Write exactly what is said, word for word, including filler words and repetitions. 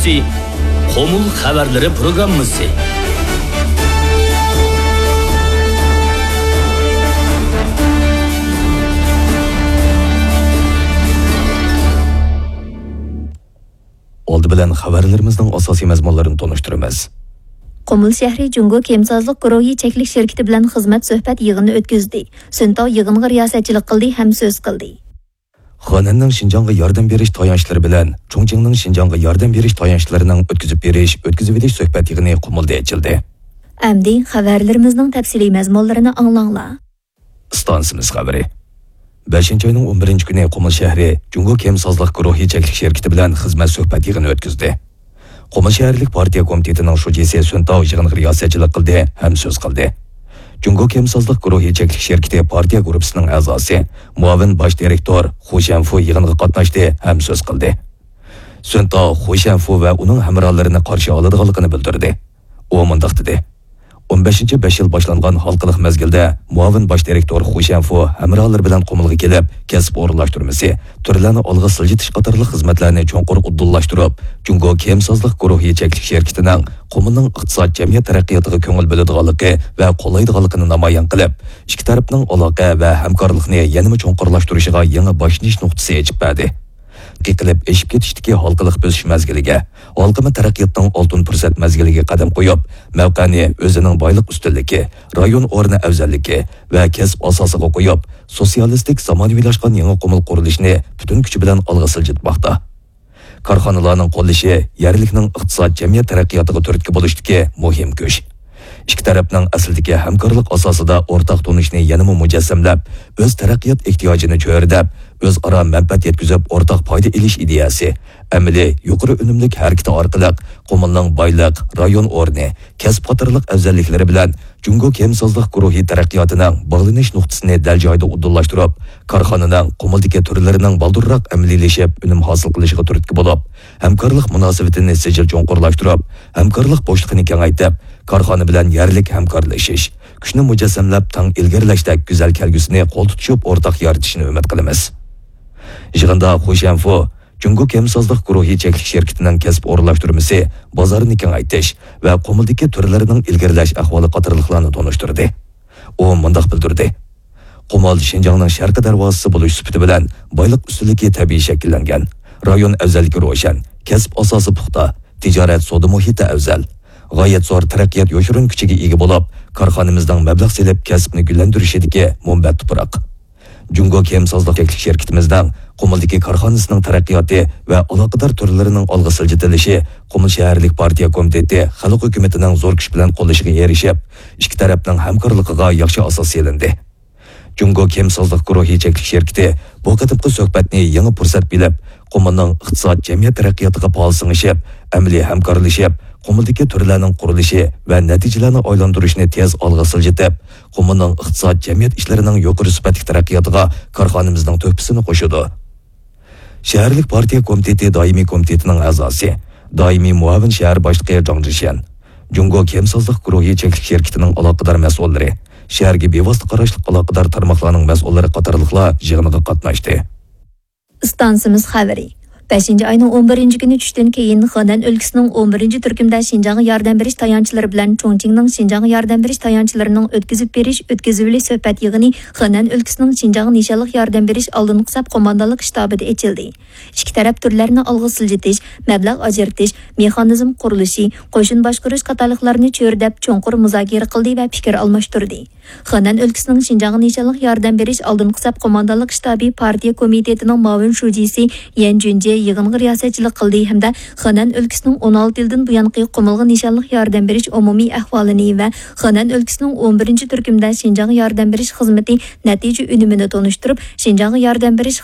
قۇمۇل خەۋەرلىرى پروگراممىسى. ئالدى بىلەن خەۋەرلىرىمىزنىڭ ئاساسىي مەزمۇنلىرىنى تونۇشتۇرىمىز. قۇمۇل شەھىرى جۇڭگو كىيىمسازلىق گۇرۇھى چەكلىك شىركىتى بىلەن خىزمەت سۆھبەت يىغىنى ئۆتكۈزدى. سۈن تاۋ يىغىنغا رىياسەتچىلىك قىلدى ھەم سۆز قىلدى. خېنەننىڭ شىنجاڭغا ياردەم بېرىش تايانچلىرى بىلەن چۇڭچىڭنىڭ شىنجاڭغا ياردەم بېرىش تايانچلىرىنىڭ ئۆتكۈزۈپ بېرىش، ئۆتكۈزۈۋېلىش سۆھبەت يىغىنى قۇمۇلدا ئېچىلدى. ئەمدى خەۋەرلىرىمىزنىڭ تەپسىلىي مەزمۇنلىرىنى ئاڭلاڭلار. ئىستانسىمىز خەۋىرى. بەشىنچى ئاينىڭ ئون بىرىنچى كۈنى قۇمۇل شەھىرى جۇڭگو كىيىمسازلىق گۇرۇھى چەكلىك شىركىتى بىلەن خىزمەت سۆھبەت يىغىنى ئۆتكۈزدى. قۇمۇل شەھەرلىك پارتىيە كومىتېتىنىڭ شۇجىسى سۈن تاۋ يىغىنغا رىياسەتچىلىك قىلدى ھەم سۆز قىلدى. جۇڭگو كىيىمسازلىق گۇرۇھى چەكلىك شىركىتى پارتىيە گۇرۇپپىسىنىڭ ئەزاسى، مۇئاۋىن باش دىرېكتور خۇ شيەنفۇ يىغىنغا قاتناشتى ھەم سۆز قىلدى. سۈن تاۋ خۇ شيەنفۇ ۋە ئۇنىڭ ھەمراھلىرىنى قارشى ئالىدىغانلىقىنى بىلدۈردى. ئۇ مۇنداق دېدى. ئون بەشىنچى بەش يىل باشلانغان ھالقىلىق مەزگىلدە مۇئاۋىن باش دىرېكتور خۇ شيەنفۇ ھەمراھلىرى بىلەن قۇمۇلغا كېلىپ، كەسىپ ئورۇنلاشتۇرمىسى، تۈرلەرنى ئالغا سىلجىتىش قاتارلىق خىزمەتلەرنى چوڭقۇر ئۇدۇللاشتۇرۇپ، جۇڭگو كىيىمسازلىق گۇرۇھى چەكلىك شىركىتىنىڭ قۇمۇلنىڭ ئىقتىساد، جەمئىيەت تەرەققىياتىغا كۆڭۈل بۆلىدىغانلىقى ۋە قوللايدىغانلىقىنى نامايان قىلىپ، ئىككى تەرەپنىڭ ئالاقە ۋە ھەمكارلىقنى يەنىمۇ چوڭقۇرلاشتۇرۇشىغا يېڭى باشلىنىش نۇقتىسى ئېچىپ بەردى. قېقىلىپ ئېشىپ كېتىشتىكى ھالقىلىق بۆسۈش مەزگىلىگە، ھالقىما تەرەققىياتنىڭ ئالتۇن پۇرسەت مەزگىلىگە قەدەم قويۇپ، مەۋقەنى ئۆزىنىڭ بايلىق ئۈستۈنلۈكى، رايون ئورنى ئەۋزەللىكى ۋە كەسىپ ئاساسىغا قويۇپ، سوتسىيالىستىك زامانىۋىلاشقان يېڭى قۇمۇل قۇرۇلۇشىنى پۈتۈن كۈچى بىلەن ئالغا سىلجىتماقتا. كارخانىلارنىڭ قوللىشى يەرلىكنىڭ ئىقتىساد، جەمئىيەت تەرەققىياتىغا تۈرتكە بولۇشتىكى مۇھىم كۈچ. ئىككى تەرەپنىڭ ئەسلىدىكى ھەمكارلىق ئاساسىدا ئورتاق تونۇشنى يەنىمۇ مۇجەسسەملەپ، ئۆز تەرەققىيات ئېھتىياجىنى چۆرىدەپ، ئۆزئارا مەنپەئەت يەتكۈزۈپ ئورتاق پايدا ئېلىش ئىدىيەسى، ئەمەلىي يۇقىرى ئۈنۈملۈك ھەرىكىتى ئارقىلىق قۇمۇلنىڭ بايلىق، رايون ئورنى، كەسىپ قاتارلىق ئەۋزەللىكلىرى بىلەن جۇڭگو كىيىمسازلىق گۇرۇھى تەرەققىياتىنىڭ باغلىنىش نۇقتىسىنى دەل جايىدا ئۇدۇللاشتۇرۇپ، كارخانىنىڭ قۇمۇلدىكى تۈرلىرىنىڭ بالدۇرراق ئەمەلىيلىشىپ، ئۈنۈم ھاسىل قىلىشىغا تۈرتكە بولۇپ، ھەمكارلىق مۇناسىۋىتىنى سىجىل چوڭقۇرلاشتۇرۇپ، ھەمكارلىق بوشلۇقىنى كېڭەيتىپ، كارخانا بىلەن يەرلىك ھەمكارلىشىش، كۈچنى مۇجەسسەملەپ تەڭ ئىلگىرىلەشتەك گۈزەل كەلگۈسىنى قول تۇتۇشۇپ ئورتاق يارىتىشىنى ئۈمىد قىلىمىز. يىغىندا خۇ شيەنفۇ جۇڭگو كىيىمسازلىق گۇرۇھى چەكلىك شىركىتىنىڭ كەسىپ ئورۇنلاشتۇرمىسى، بازارنى كېڭەيتىش ۋە قۇمۇلدىكى تۈرلەرنىڭ ئىلگىرىلەش ئەھۋالى قاتارلىقلارنى تونۇشتۇردى. ئۇ مۇنداق بىلدۈردى: قۇمۇل شىنجاڭنىڭ شەرقىي دەرۋازىسى بولۇش سۈپىتى بىلەن بايلىق ئۈستۈنلۈكى تەبىئىي شەكىللەنگەن، رايون ئەۋزەللىكى روشەن، كەسىپ ئاساسى پۇختا، تىجارەت سودا مۇھىتى ئەۋزەل، غايەت زور تەرەققىيات يوشۇرۇن كۈچىگە ئىگە بولۇپ، كارخانىمىزنىڭ مەبلەغ سېلىپ كەسىپنى گۈللەندۈرۈشىدىكى مۇنبەت تۇپراق. جۇڭگو كىيىمسازلىق چەكلىك شىركىتىمىزنىڭ قۇمۇلدىكى كارخانىسىنىڭ تەرەققىياتى ۋە ئالاقىدار تۈرلىرىنىڭ ئالغا سىلجىتىلىشى قۇمۇل شەھەرلىك پارتىيە كومىتېتى خەلق ھۆكۈمىتىنىڭ زور كۈچ بىلەن قوللىشىغا ئېرىشىپ، ئىككى تەرەپنىڭ ھەمكارلىقىغا ياخشى ئاساس سېلىندى. جۇڭگو كىيىمسازلىق گۇرۇھى چەكلىك شىركىتى بۇ قېتىمقى سۆھبەتنى يېڭى پۇرسەت بىلىپ، قۇمۇلنىڭ ئىقتىساد، جەمئىيەت تەرەققىياتىغا پائال سىڭىشىپ، ئەمەلىي ھەمكارلىشىپ، قۇمۇلدىكى تۈرلەرنىڭ قۇرۇلۇشى ۋە نەتىجىلەرنى ئايلاندۇرۇشنى تېز ئالغا سىلجىتىپ، قۇمۇلنىڭ ئىقتىساد، جەمئىيەت ئىشلىرىنىڭ يۇقىرى سۈپەتلىك تەرەققىياتىغا كارخانىمىزنىڭ تۆھپىسىنى قوشىدۇ. شەھەرلىك پارتىيە كومىتېتى دائىمىي كومىتېتىنىڭ ئەزاسى، دائىمىي مۇئاۋىن شەھەر باشلىقى جاڭ جىشيەن، جۇڭگو كىيىمسازلىق گۇرۇھى چەكلىك شىركىتىنىڭ ئالاقىدار مەسئۇللىرى، شەھەرگە بىۋاسىتە قاراشلىق ئالاقىدار تارماقلارنىڭ مەسئۇللىرى قاتارلىقلار يىغىنغا قاتناشتى. ئىستانسىمىز خەۋىرى. بەشىنچى ئاينىڭ ئون بىرىنچى كۈنى چۈشتىن كېيىن، خېنەن ئۆلكىسىنىڭ ئون بىرىنچى تۈركۈمدە شىنجاڭغا ياردەم بېرىش تايانچلىرى بىلەن چۇڭچىڭنىڭ شىنجاڭغا ياردەم بېرىش تايانچلىرىنىڭ ئۆتكۈزۈپ بېرىش، ئۆتكۈزۈۋېلىش سۆھبەت يىغىنى خېنەن ئۆلكىسىنىڭ شىنجاڭ نىشانلىق ياردەم بېرىش ئالدىنقى سەپ قوماندانلىق شتابىدا ئېچىلدى. ئىككى تەرەپ تۈرلەرنى ئالغا سىلجىتىش، مەبلەغ ئاجرىتىش، مېخانىزم قۇرۇلۇشى، قوشۇن باشقۇرۇش قاتارلىقلارنى چۆرىدەپ، چوڭقۇر مۇزاكىرە قىلدى ۋە پىكىر ئالماشتۇردى. خېنەن ئۆلكىسىنىڭ شىنجاڭغا نىشانلىق ياردەم بېرىش ئالدىنقى سەپ قوماندانلىق شتابى پارتىيە كومىتېتىنىڭ مۇئاۋىن شۇجىسى يەن جۈنجې يىغىنغا رىياسەتچىلىك قىلدى ھەمدە خېنەن ئۆلكىسىنىڭ ئون ئالتە يىلدىن بۇيانقى قۇمۇلغا نىشانلىق ياردەم بېرىش ئومۇمىي ئەھۋالىنى ۋە خېنەن ئۆلكىسىنىڭ ئون بىرىنچى تۈركۈمدە شىنجاڭغا ياردەم بېرىش خىزمىتى نەتىجە ئۈنۈمىنى تونۇشتۇرۇپ، شىنجاڭغا ياردەم بېرىش